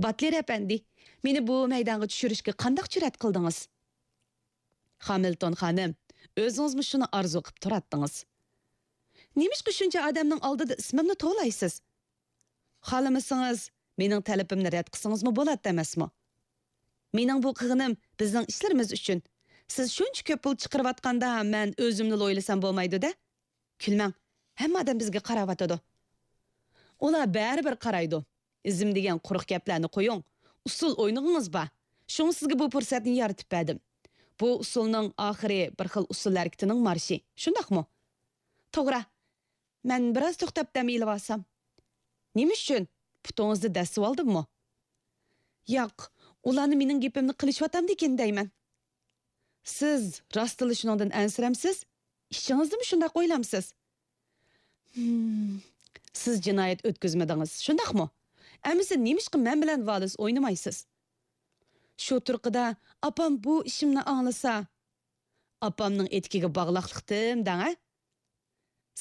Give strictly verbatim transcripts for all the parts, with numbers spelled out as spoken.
باتلېر ئەپەندى، مېنى بۇ مەيدانغا چۈشۈرۈشكە قانداق جۈرئەت قىلدىڭىز؟ خامىلتون خانىم، ئۆزىڭىزمۇ شۇنى ئارزۇ قىپ تۇراتتىڭىز. نېمىشقا شۇنچە ئادەمنىڭ ئالدىدا ئىسمىمنى توۋلايسىز؟ خالىمىسىڭىز، مېنىڭ تەلىپىمنى رەت قىلسىڭىزمۇ بولاتتى ئەمەسمۇ؟ مېنىڭ بۇ قىلغىنىم بىزنىڭ ئىشلىرىمىز ئۈچۈن. سىز شۇنچە كۆپ پۇل چىقىرىۋاتقاندا، مەن ئۆزۈمنىلا ئويلىسام بولمايدۇ-دە؟ كۈلمەڭ، ھەممە ئادەم بىزگە قاراۋاتىدۇ. ئۇلار بەرىبىر قارايدۇ. ئىزىم دېگەن قۇرۇق گەپلەرنى قويۇڭ. ئۇسسۇل ئوينىغىڭىز بار. شۇڭا سىزگە بۇ پۇرسەتنى يارىتىپ بەردىم. بۇ ئۇسسۇلنىڭ ئاخىرى بىر خىل ئۇسسۇل ھەرىكىتىنىڭ مارشى. شۇنداقمۇ؟ توغرا. مەن بىراز توختاپ دەم ئېلىۋالسام. نېمە ئۈچۈن؟ پۇتىڭىزنى دەسسىۋالدىممۇ؟ ياق، ئۇلارنى مېنىڭ گېپىمنى قىلىشىۋاتامدىكىن دەيمەن. سىز راستلا شۇنىڭدىن ئەنسىرەمسىز؟ ئىچىڭىزدىمۇ شۇنداق ئويلامسىز؟ ھىم، سىز جىنايەت ئۆتكۈزمىدىڭىز، شۇنداقمۇ؟ ئەمىسە نېمىشقا مەن بىلەن ۋالىس ئوينىمايسىز؟ شۇ تۇرقىدا ئاپام بۇ ئىشىمنى ئاڭلىسا، ئاپامنىڭ ئېتىكىگە باغلاقلىقتىم دەڭە.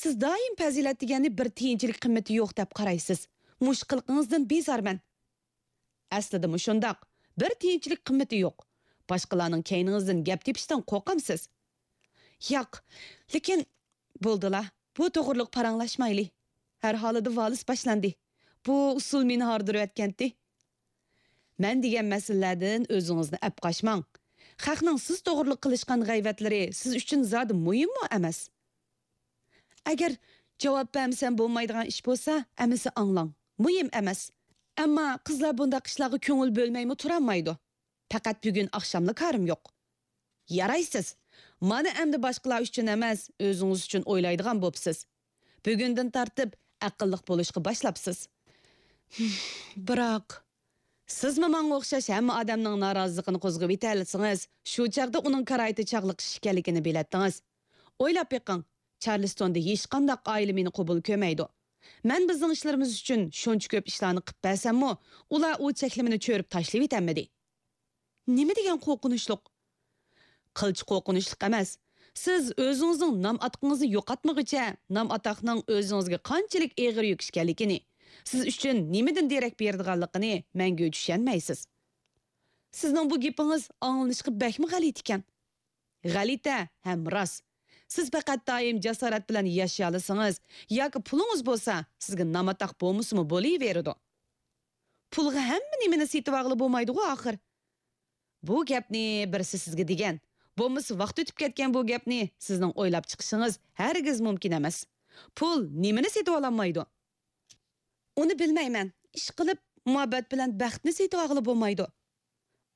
سىز دائىم پەزىلەت دېگەننى بىر تىيىنچىلىك قىممىتى يوق دەپ قارايسىز. مۇشۇ قىلىقىڭىزدىن بىزارمەن. ئەسلىدە مۇشۇنداق، بىر تىيىنچىلىك قىممىتى يوق. باشقىلارنىڭ كەينىڭىزدىن گەپ تېپىشتىن قورقامسىز؟ ياق، لېكىن بولدىلا، بۇ توغرىلىق پاراڭلاشمايلى. ھەر ھالىدا ۋالىس باشلاندى. بۇ ئۇسسۇل مېنى ھاردۇرۇۋەتكەنتى. مەن دېگەن مەسىلىلەردىن ئۆزىڭىزنى ئەپ قاچماڭ. خەقنىڭ سىز توغرىلىق قىلىشقان غەيۋەتلىرى سىز ئۈچۈن زادى مۇھىممۇ ئەمەس. ئەگەر جاۋاب بەرمىسەم بولمايدىغان ئىش بولسا، ئەمىسە ئاڭلاڭ. مۇھىم ئەمەس. ئەمما قىزلار بۇنداق ئىشلارغا كۆڭۈل بۆلمەيمۇ تۇرالمايدۇ. پەقەت بۈگۈن ئاخشاملا كارىم يوق. يارايسىز. مانا ئەمدى باشقىلار ئۈچۈن ئەمەس، ئۆزىڭىز ئۈچۈن ئويلايدىغان بوپسىز. بۈگۈندىن تارتىپ ئەقىللىق بولۇشقا باشلاپسىز. بىراق، سىزمۇ ماڭا ئوخشاش ھەممە ئادەمنىڭ نارازىلىقىنى قوزغىۋېتەلىسىڭىز، شۇ چاغدا ئۇنىڭ كارايتى چاغلىق ئىش ئىكەنلىكىنى بىلەتتىڭىز. ئويلاپ بېقىڭ، چارلىستوندا ھېچقانداق ئائىلە مېنى قوبۇل كۆرمەيدۇ. مەن بىزنىڭ ئىشلىرىمىز ئۈچۈن شۇنچە كۆپ ئىشلارنى قىپ بەرسەممۇ، ئۇلار ئۇ چەكلىمىنى چۆرۈپ تاشلىۋېتەلمىدى. نېمە دېگەن قورقۇنچلۇق؟ قىلچە قورقۇنچلۇق ئەمەس. سىز ئۆزىڭىزنىڭ نام-ئاتىقىڭىزنى يوقاتمىغۇچە، نام-ئاتاقنىڭ ئۆزىڭىزگە قانچىلىك ئېغىر يۈك ئىكەنلىكىنى، سىز ئۈچۈن نېمىدىن دېرەك بېرىدىغانلىقىنى مەڭگۈ چۈشەنمەيسىز. سىزنىڭ بۇ گېپىڭىز ئاڭلىنىشقا بەكمۇ غەلىتە ئىكەن. غەلىتە ھەم راست. سىز پەقەت دائىم جاسارەت بىلەن ياشىيالىسىڭىز ياكى پۇلىڭىز بولسا، سىزگە نام-ئاتاق بولمىسىمۇ بولۇۋېرىدۇ. پۇلغا ھەممە نېمىنى سېتىۋالغىلى بولمايدىغۇ ئاخىر. بۇ گەپنى بىرسى سىزگە دېگەن، بولمىسا ۋاقىت ئۆتۈپ كەتكەن بۇ گەپنى سىزنىڭ ئويلاپ چىقىشىڭىز ھەرگىز مۇمكىن ئەمەس. پۇل نېمىنى سېتىۋالالمايدۇ؟ ئۇنى بىلمەيمەن. ئىشقىلىپ، مۇھەببەت بىلەن بەختنى سېتىۋالغىلى بولمايدۇ.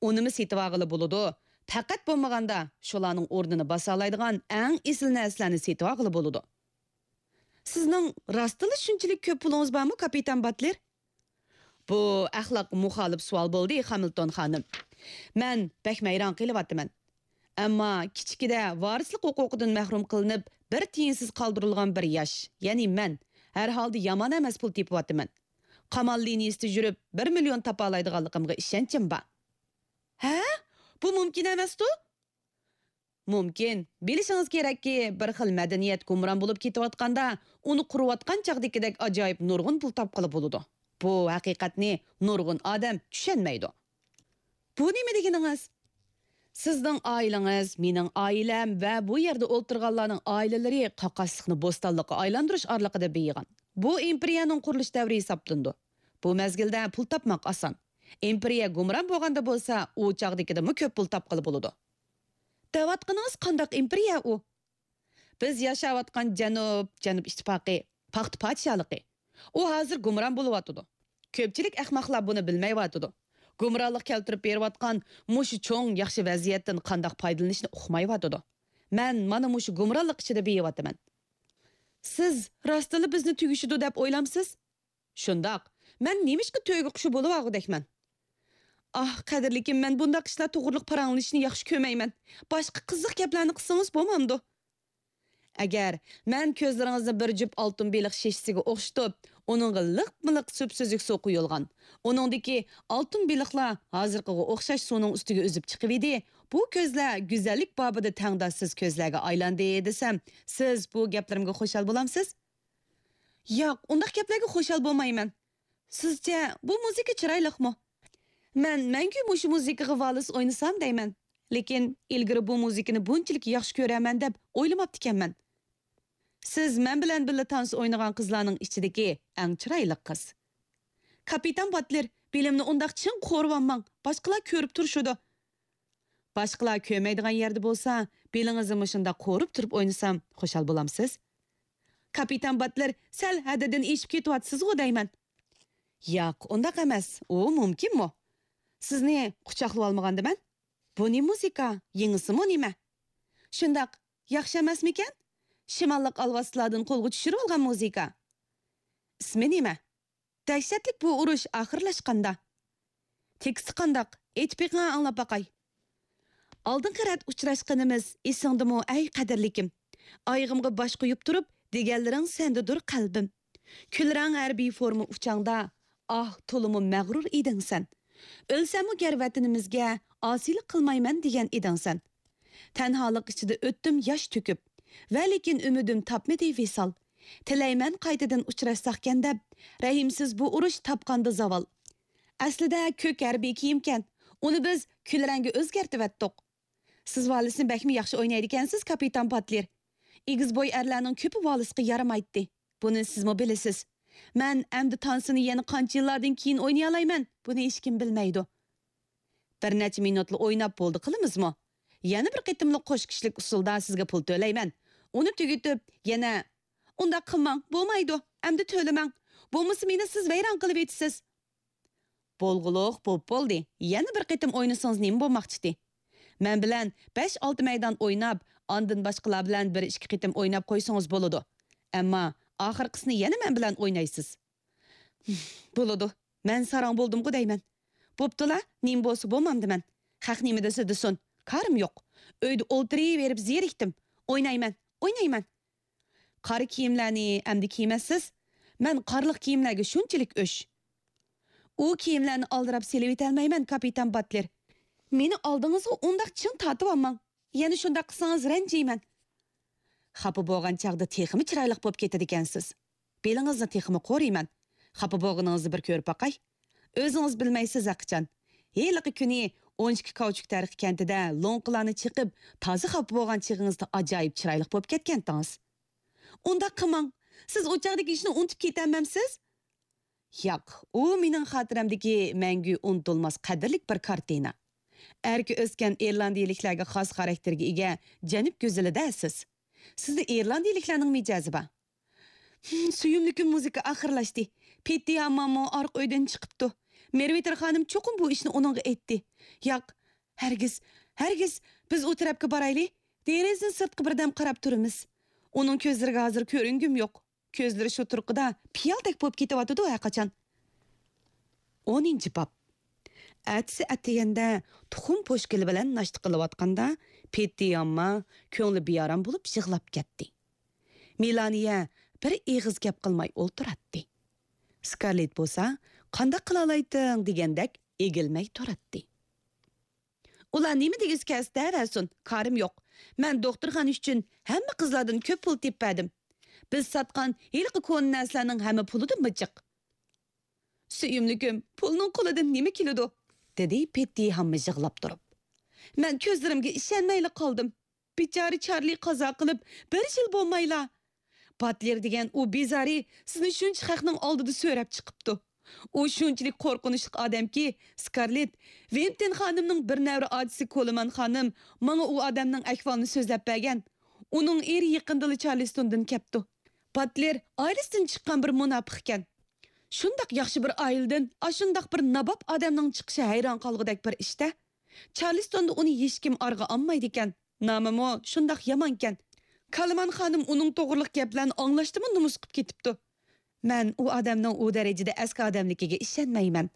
ئۇنىمۇ سېتىۋالغىلى بولىدۇ. پەقەت بولمىغاندا شۇلارنىڭ ئورنىنى باسالايدىغان ئەڭ ئېسىل نەرسىلەرنى سېتىۋالغىلى بولىدۇ. سىزنىڭ راستتىنلا شۇنچىلىك كۆپ پۇلىڭىز بارمۇ، كاپىتان باتلېر؟ بۇ ئەخلاققا مۇخالىپ سوئال بولدى، خامىلتون خانىم. مەن بەك ھەيران قېلىۋاتىمەن. ئەمما كىچىكىدە ۋارىسلىق ھوقۇقىدىن مەھرۇم قىلىنىپ، بىر تىيىنسىز قالدۇرۇلغان بىر ياش، يەنى مەن، ھەر ھالدا يامان ئەمەس پۇل تېپىۋاتىمەن. قامال لىنىيىسىدا يۈرۈپ، بىر مىليون تاپالايدىغانلىقىمغا ئىشەنچىم بار. ھە؟ بۇ مۇمكىن ئەمەستۇ؟ مۇمكىن. بىلىشىڭىز كېرەككى، بىر خىل مەدەنىيەت گۇمران بولۇپ كېتىۋاتقاندا، ئۇنى قۇرۇۋاتقان چاغدىكىدەك ئاجايىپ نۇرغۇن پۇل تاپقىلى بولىدۇ. بۇ ھەقىقەتنى نۇرغۇن ئادەم چۈشەنمەيدۇ. بۇ نېمە دېگىنىڭىز؟ سىزنىڭ ئائىلىڭىز، مېنىڭ ئائىلەم ۋە بۇ يەردە ئولتۇرغانلارنىڭ ئائىلىلىرى قاقاسلىقنى بوستانلىققا ئايلاندۇرۇش ئارىلىقىدا بېيىغان. بۇ ئىمپېرىيەنىڭ قۇرۇلۇش دەۋرى ھېسابلىنىدۇ. بۇ مەزگىلدە پۇل تاپماق ئاسان. ئىمپېرىيە گۇمران بولغاندا بولسا، ئۇ چاغدىكىدىنمۇ كۆپ پۇل تاپقىلى بولىدۇ. دەۋاتقىنىڭىز قانداق ئىمپېرىيە ئۇ؟ بىز ياشاۋاتقان جەنۇب، جەنۇب ئىتتىپاقى، پاختا پادىشاھلىقى. ئۇ ھازىر گۇمران بولۇۋاتىدۇ. كۆپچىلىك ئەخمەقلار بۇنى بىلمەيۋاتىدۇ. گۇمرانلىق كەلتۈرۈپ بېرىۋاتقان مۇشۇ چوڭ ياخشى ۋەزىيەتتىن قانداق پايدىلىنىشنى ئۇقمايۋاتىدۇ. مەن مانا مۇشۇ گۇمرانلىق ئىچىدە بېيىۋاتىمەن. سىز راستىنلا بىزنى تۈگىشىدۇ دەپ ئويلامسىز؟ شۇنداق. مەن نېمىشقا تۆگە قۇشى بولۇۋالغۇدەكمەن؟ ئاھ، قەدىرلىكىم، مەن بۇنداق ئىشلار توغرىلىق پاراڭلىشىشنى ياخشى كۆرمەيمەن. باشقا قىزىق گەپلەرنى قىلسىڭىز بولمامدۇ؟ ئەگەر مەن كۆزلىرىڭىزنى بىر جۈپ ئالتۇن بېلىق شېشىسىگە ئوخشىتىپ، ئۇنىڭغا لىقمۇلىق سۈپسۈزۈك سۇ قۇيۇلغان، ئۇنىڭدىكى ئالتۇن بېلىقلار ھازىرقىغا ئوخشاش سۇنىڭ ئۈستىگە ئۈزۈپ چىقىۋىدى، بۇ كۆزلەر گۈزەللىك بابىدا تەڭداشسىز كۆزلەرگە ئايلاندى دېسەم، سىز بۇ گەپلىرىمگە خۇشال بولامسىز؟ ياق، ئۇنداق گەپلەرگە خۇشال بولمايمەن. سىزچە بۇ مۇزىكا چىرايلىقمۇ؟ مەن مەڭگۈ مۇشۇ مۇزىكىغا ۋالىس ئوينىسام دەيمەن. لېكىن ئىلگىرى بۇ مۇزىكىنى بۇنچىلىك ياخشى كۆرەرمەن دەپ ئويلىماپتىكەنمەن. سىز مەن بىلەن بىللە تانسا ئوينىغان قىزلارنىڭ ئىچىدىكى ئەڭ چىرايلىق قىز. كاپىتان باتلېر، بېلىمنى ئۇنداق چىڭ قورۇۋالماڭ، باشقىلار كۆرۈپ تۇرۇشىدۇ. باشقىلار كۆرمەيدىغان يەردە بولسا، بېلىڭىزنى مۇشۇنداق قورۇپ تۇرۇپ ئوينىسام، خۇشال بولامسىز؟ كاپىتان باتلېر، سەل ھەددىدىن ئېشىپ كېتىۋاتىسىزغۇ دەيمەن. ياق، ئۇنداق ئەمەس، ئۇ مۇمكىنمۇ؟ سىزنى قۇچاقلىۋالمىغاندىمەن؟ بۇ نېمە مۇزىكا؟ يېڭىسىمۇ نېمە؟ شۇنداق، ياخشى ئەمەسمىكەن؟ شىماللىق ئالۋاستىلاردىن قولغا چۈشۈرۈۋالغان مۇزىكا. ئىسمى نېمە؟ دەھشەتلىك بۇ ئۇرۇش ئاخىرلاشقاندا. تېكىستى قانداق؟ ئېيتىپ بېقىڭا ئاڭلاپ باقاي. ئالدىنقى رەت ئۇچراشقىنىمىز ئېسىڭدىمۇ، ئەي قەدىرلىكىم؟ ئايىغىمغا باش قويۇپ تۇرۇپ، دېگەنلىرىڭ سەندىدۇر قەلبىم. كۈلرەڭ ھەربىي فورما ئۇچاڭدا، ئاھ، تولىمۇ مەغرۇر ئىدىڭ سەن. ئۆلسەممۇ گەر ۋەتىنىمىزگە ئاسىيلىق قىلمايمەن دېگەن ئىدىڭ سەن. تەنھالىق ئىچىدە ئۆتتۈم ياش تۆكۈپ، ۋە لېكىن ئۈمىدىم تاپمىدى ۋىسال. تىلەيمەن قايتىدىن ئۇچراشساقكەن دەپ، رەھىمسىز بۇ ئۇرۇش تاپقاندا زاۋال. ئەسلىدە كۆك ھەربىي كىيىمكەن، ئۇنى بىز كۈلرەڭگە ئۆزگەرتىۋەتتۇق. سىز ۋالىسنى بەكمۇ ياخشى ئوينايدىكەنسىز، كاپىتان باتلېر. ئېگىز بوي ئەرلەرنىڭ كۆپى ۋالىسقا يارىمايتتى. بۇنى سىزمۇ بىلىسىز. مەن ئەمدى تانسىنى يەنە قانچە يىللاردىن كېيىن ئوينىيالايمەن، بۇنى ھېچكىم بىلمەيدۇ. بىر نەچچە مىنۇتلا ئويناپ بولدى قىلىمىزمۇ؟ يەنە بىر قېتىملىق قوش كىشىلىك ئۇسۇلدا سىزگە پۇل تۆلەيمەن. ئۇنى تۈگىتىپ، يەنە، ئۇنداق قىلماڭ، بولمايدۇ، ئەمدى تۆلىمەڭ. بولمىسا مېنى سىز ۋەيران قىلىۋېتىسىز. بولغۇلۇق بوپ بولدى، يەنە بىر قېتىم ئوينىسىڭىز نېمە بولماقچىتى؟ مەن بىلەن بەش-ئالتە مەيدان ئويناپ، ئاندىن باشقىلار بىلەن بىر-ئىككى قېتىم ئويناپ قويسىڭىز بولىدۇ. ئەمما ئاخىرقىسىنى يەنە مەن بىلەن ئوينايسىز. بولىدۇ، مەن ساراڭ بولدۇمغۇ دەيمەن. بوپتۇلا، نېمە بولسا بولمامدىمەن. خەق نېمە دېسە دېسۇن، كارىم يوق. ئۆيدە ئولتۇرۇۋېرىپ زېرىكتىم. ئوينايمەن، ئوينايمەن. قارا كىيىملەرنى ئەمدى كىيمەسسىز؟ مەن قارلىق كىيىملەرگە شۇنچىلىك ئۆچ. ئۇ كىيىملەرنى ئالدىراپ سېلىۋېتەلمەيمەن، كاپىتان باتلېر. مېنى ئالدىڭىزغا ئۇنداق چىڭ تارتىۋالماڭ. يەنە شۇنداق قىلسىڭىز رەنجىيمەن. خاپا بولغان چاغدا تېخىمۇ چىرايلىق بولۇپ كېتىدىكەنسىز. بېلىڭىزنى تېخىمۇ قورۇيمەن. خاپا بولغىنىڭىزنى بىر كۆرۈپ باقاي. ئۆزىڭىز بىلمەيسىز ھەقىچان. ھېلىقى كۈنى ئون ئىككى كاۋچۇك تەرىقى كەنتىدە لوڭقىلارنى چېقىپ، تازا خاپا بولغان چېغىڭىزدا ئاجايىپ چىرايلىق بولۇپ كەتكەنتىڭىز. ئۇنداق قىلماڭ. سىز ئۇ چاغدىكى ئىشنى ئۇنتۇپ كېتەلمەمسىز؟ ياق، ئۇ مېنىڭ خاتىرەمدىكى مەڭگۈ ئۇنتۇلماس قەدىرلىك بىر كارتىنا. ئەركە ئۆسكەن ئىرلاندىيىلىكلەرگە خاس خاراكتېرگە ئىگە جەنۇب گۈزىلىدە سىز. سىزدە ئىرلاندىيىلىكلەرنىڭ مىجەزى بار. ھىم، سۆيۈملۈكۈم، مۇزىكا ئاخىرلاشتى. پېتتى ھامماممۇ ئارقا ئۆيدىن چىقىپتۇ. مېرۋىتېر خانىم چوقۇم بۇ ئىشنى ئۇنىڭغا ئېيتتى. ياق، ھەرگىز، ھەرگىز، بىز ئۇ تەرەپكە بارايلى. دېرىزىنى سىرتقا بىردەم قاراپ تۇرىمىز. ئۇنىڭ كۆزلىرىگە ھازىر كۆرۈنگۈم يوق. كۆزلىرى شۇ تۇرقىدا پىيالدەك بولۇپ كېتىۋاتىدۇ ھەرقاچان. ئونىنچى باب. ئەتىسى ئەتىگەندە تۇخۇم پوشكىلى بىلەن ناشتا قىلىۋاتقاندا، پېتتى ھامما كۆڭلى بىئارام بولۇپ يىغلاپ كەتتى. مېلانىيە بىر ئېغىز گەپ قىلماي ئولتۇراتتى. سكارلېت بولسا، «قانداق قىلالايتتىڭ؟» دېگەندەك ئېگىلمەي تۇراتتى. «ئۇلار نېمە دېگۈسى كەلسە دەۋەرسۇن، كارىم يوق. مەن دوختۇرخانا ئۈچۈن ھەممە قىزلاردىن كۆپ پۇل تېپىپ بەردىم. بىز ساتقان ھېلىقى كونا نەرسىلەرنىڭ ھەممە پۇلىدىنمۇ جىق.» «سۆيۈملۈكۈم، پۇلنىڭ قولىدىن نېمە كېلىدۇ؟» دېدى پېتتى ھامما يىغلاپ تۇرۇپ. «مەن كۆزلىرىمگە ئىشەنمەيلا قالدىم. بىچارە چارلى قازا قىلىپ بىر يىل بولمايلا. باتلېر دېگەن ئۇ بىزارى سىزنى شۇنچە خەقنىڭ ئالدىدا سۆرەپ چىقىپتۇ. ئۇ شۇنچىلىك قورقۇنچلۇق ئادەمكى، سكارلېت، ۋىنتېن خانىمنىڭ بىر نەۋرە ئاچىسى كولىمان خانىم ماڭا ئۇ ئادەمنىڭ ئەھۋالىنى سۆزلەپ بەرگەن. ئۇنىڭ ئېرى يېقىندىلا چارلىستوندىن كەپتۇ. باتلېر ئائىلىسىدىن چىققان بىر مۇناپىق ئىكەن. شۇنداق ياخشى بىر ئائىلىدىن ئاشۇنداق بىر ناباب ئادەمنىڭ چىقىشى ھەيران قالغۇدەك بىر ئىش-تە. چارلىستوندا ئۇنى ھېچكىم ئارىغا ئالمايدىكەن. نامىمۇ شۇنداق يامانكەن. كالىمان خانىم ئۇنىڭ توغرىلىق گەپلەرنى ئاڭلاشتىمۇ نومۇس قىپ كېتىپتۇ. مەن ئۇ ئادەمنىڭ ئۇ دەرىجىدە ئەسكى ئادەملىكىگە ئىشەنمەيمەن.»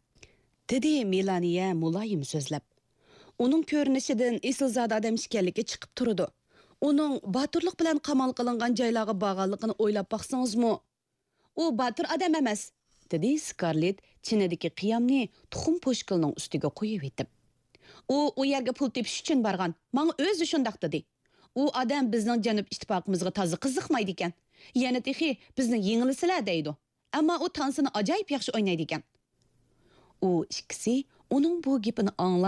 دېدى مېلانىيە مۇلايىم سۆزلەپ. ئۇنىڭ كۆرۈنۈشىدىن ئېسىلزادە ئادەم ئىكەنلىكى چىقىپ تۇرىدۇ. ئۇنىڭ باتۇرلۇق بىلەن قامال قىلىنغان جايلارغا بارغانلىقىنى ئويلاپ باقسىڭىزمۇ، «ئۇ باتۇر ئادەم ئەمەس،» دېدى سكارلېت چىنىدىكى قىيامنى تۇخۇم پوشكىلىنىڭ ئۈستىگە قويۇۋېتىپ. «ئۇ ئۇ يەرگە پۇل تېپىش ئۈچۈن بارغان، ماڭا ئۆزى شۇنداق دېدى. ئۇ ئادەم بىزنىڭ جەنۇب ئىتتىپاقىمىزغا تازا قىزىقمايدىكەن. يەنە تېخى بىزنى يېڭىلىسىلە دەيدۇ. ئەمما ئۇ تانسىنى ئاجايىپ ياخشى ئوينايدىكەن.» ئۇ ئىككىسى ئۇنىڭ بۇ گېپىنى ئاڭلاپ،